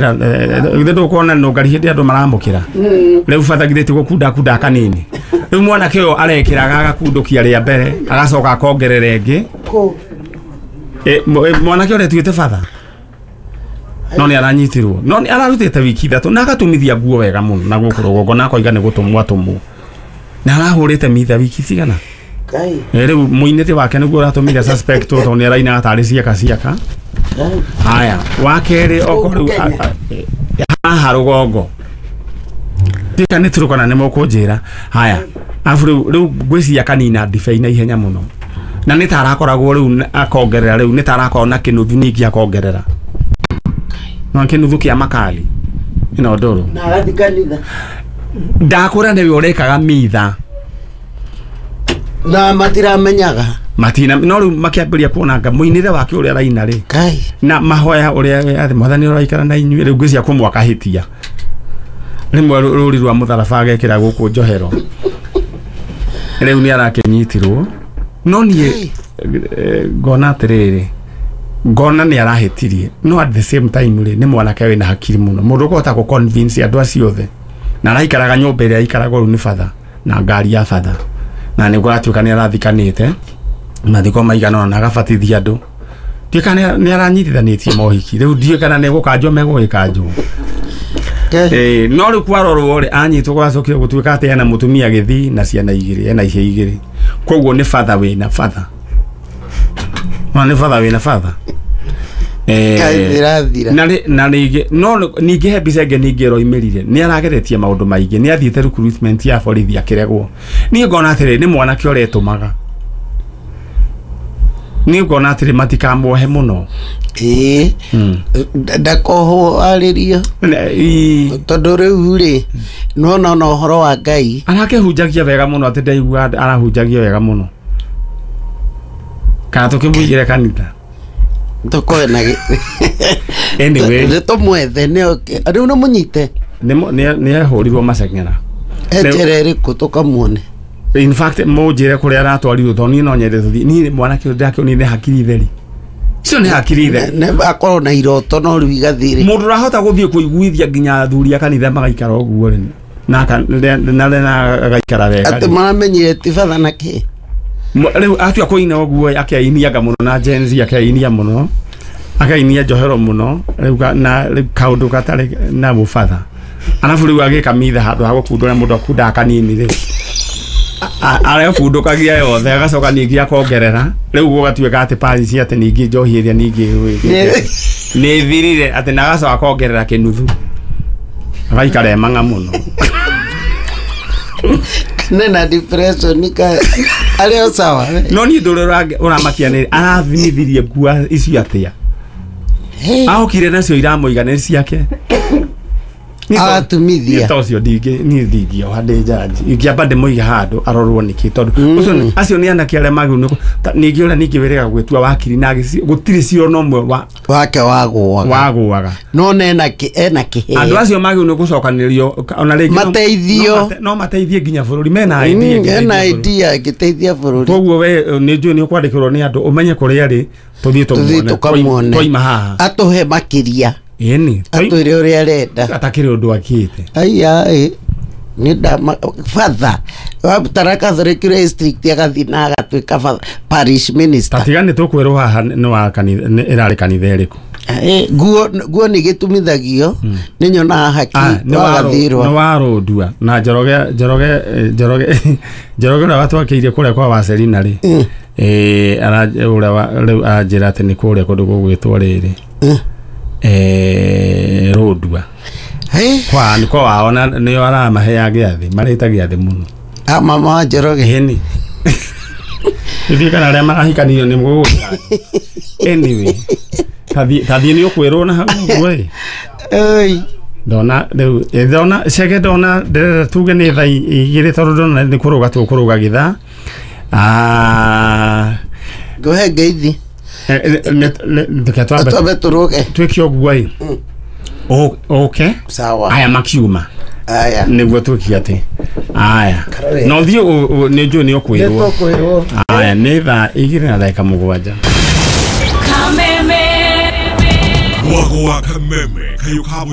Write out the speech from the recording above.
Githĩ ndũkuona nũngari hĩndĩ andũ maramũkĩra rĩu batha githĩ ti gũkunda kunda kanini rĩu mwanake ũyũ arekĩraga agakundũkia rĩa mbere agacoka akongerera ĩngĩ. Mwanake ũrĩa tuĩte batha no nĩ aranyitirwo no nĩ ararutĩte wiki 3 na agatumithia nguo wega mũno na gũkũ rũgongo na akoiga nĩ gũtũmwo atũmwo na arahũrĩte mitha wiki cigana. Rĩu mũinĩre wake nĩguo ũratũmire suspect tondũ nĩ arainaga tarĩ ciaka ciaka. Haya wa kerĩ okorwo haha rũgongo tika nĩ turukana nĩ mũkũnjĩra. Haya afu rĩu ngwĩciria kanina ndibei na ihenya mũno na nĩ ta arakoragwo rĩu akongerera rĩu nĩ ta arakorwo na kĩnuthu ningĩ akongerera no kĩnuthu kĩa makali ĩno ndũrũ na agathiĩ kanitha ndakũra nĩwe ũrekaga mitha na matiramenyaga matina no rĩu makĩambĩrĩria kuona nga mũinĩre wake ũrĩa araina rĩ na mahoya ũrĩa athi mwathani ũraikara na inyuĩ rĩu ngwĩciria kũmwe akahĩtia rĩmwe rũri rwa mũtharaba agekĩra gũkũ njohero rĩu nĩ arakĩnyitirwo no niĩ ngona atĩrĩrĩ ngona nĩ arahĩtirie no at the same time rĩ nĩ mwanake wĩna hakiri mũno mũndũ ũkũhota gũ convince andũ acio othe na araikaraga nyũmba ĩrĩa aikaragwo rĩu nĩ batha na ngari ya batha na nĩ kũratuĩka nĩ arathikanĩte mathiko maigana ũna na agabatithia andũ tuĩka nĩ aranyitithanĩtie mohiki rĩu ndiũĩ kana nĩ gũkanjwo megũgĩkanjwo. No rĩu kwarorwo rĩ anyitwo gwacokire gũtuĩka atĩ ena mũtumia gĩthii na ciana igĩrĩ ena ihĩĩ igĩrĩ koguo nĩ batha wĩna batha no nĩ batha wĩna batha na rĩngĩ no ningĩ he mbica ĩngĩ ningĩ ĩroimĩrire nĩ arageretie maũndũ maingĩ nĩ athiĩte recruitment ya borithi akĩregwo. Niĩ ngona atĩrĩ nĩ mwanake ũretũmaga niĩ ngona atĩrĩ matikamuohe mũno ndakohwo arĩrio tondũ rĩu rĩ nĩwona ona ũhoro wa Ngai arakĩhunjagia wega mũno atĩ ndaigua arahunjagia wega mũno kana tũkĩmũigĩre kanitha tũkoe na anyway nĩ tũmwethe rĩu nĩ mũnyite nĩ ehũrirwo maceng'era njĩra ĩrĩkũ tũkamuone. In fact mũnjĩre kũrĩa aratwarirwo tondũ niĩ no nyende tũthiĩ niĩ mwanake ũyũ ndakĩonire nĩ hakiri theri icio nĩ hakiri theri akorwo na iroto no rĩu igathirĩ mũndũ ũrahota gũthiĩ kũiguithia nginya athuri a kanitha magaikara ũguo rĩ na agaikara wega atĩ maramenyire ti batha na kĩ rĩu atua kũina ũguo akĩainiaga mũno na Gen Z akĩainia mũno akainia njohero mũno rĩu na kaũndũ gatarĩ na mũbatha arabu rĩu agĩka mitha handũ ha gũkundũra mũndũ akundaga kanini rĩ arekundũkagia yothe agacoka ningĩ akongerera rĩu gũgatuĩka atĩ parish atĩ ningĩ njohi ĩrĩa ningĩ nĩ thirire atĩ na agacoka akongerera kĩnuthu agaikara emang'a mũno nena depression ka arĩ o sawa no niĩ ndũrĩ ũramakia nĩ arathimithirie nguo icio atĩa aokire nacio iramũiga nĩ ciake agatumithia ta ũcio niĩ ndingĩoha ndĩ njanji ingĩamba ndĩmũige handũ arorwo nĩkĩ tondũ ũcio acio nĩ anake arĩa magĩrĩirwo ningĩ ũrĩa ningĩ wĩrĩga gwĩtua wakiri na gũtirĩ cira ona ũmwe wake wagũaga no ena kĩheo andũ acio magĩrĩirwo nĩ gũcokanĩrĩrio ona rĩngĩ mateithio no mateithie nginya bũrũri mena idea ena idea ĩngĩteithia bũrũri koguo we nĩ njũĩ nĩ ũkwandĩkĩrwo nĩ andũ ũmenye kũrĩa arĩ tũthiĩ tũkamuone twaima haha atũhe makĩria ĩni atwĩre ũrĩa arenda atakĩrĩ ũndũ akĩte aya nĩ batha tara Catholic district agathiĩ na agatuĩka parish minister tatiga nĩ tũkwĩrwo haha nĩ wa kanitha ĩrarĩ kanitha ĩrĩkũ nguo nĩ gĩtumithagio nĩ nyonaga haki wagathirwo nĩ warũndua na Njoroge Njoroge ũrĩa watwakĩirie kũrĩa kwa Wacerina rĩ ũrĩa rĩu aranjĩra atĩ nĩ kũrĩa kũndũ gũgwĩtwo rĩrĩ Rũndua kwa nĩ kwa wao na nĩo aramaheaga gĩathĩ marĩta gĩathĩ mũno mama wa Njoroge ĩni ithuĩ kana arĩa marahikanirio nĩ mũgũgũta anyway tathiĩ nĩ ũkwĩrwo na hau ũguo ĩ ndona rĩu ndona cege ndona ndĩrenda tuge nĩ thaa 2 tondũ ndona nĩ kũrũga tũkũrũga gĩthaa ngũhe ngeithi twambe tũrũge twĩke ũguo ĩ ũke sawa aya makiuma aya nĩguo twĩke atĩ aya no thiĩ nĩ njũĩ nĩ ũkwĩrwo aya nĩ thaa 2:07. Mwago wa kameme kayo ka.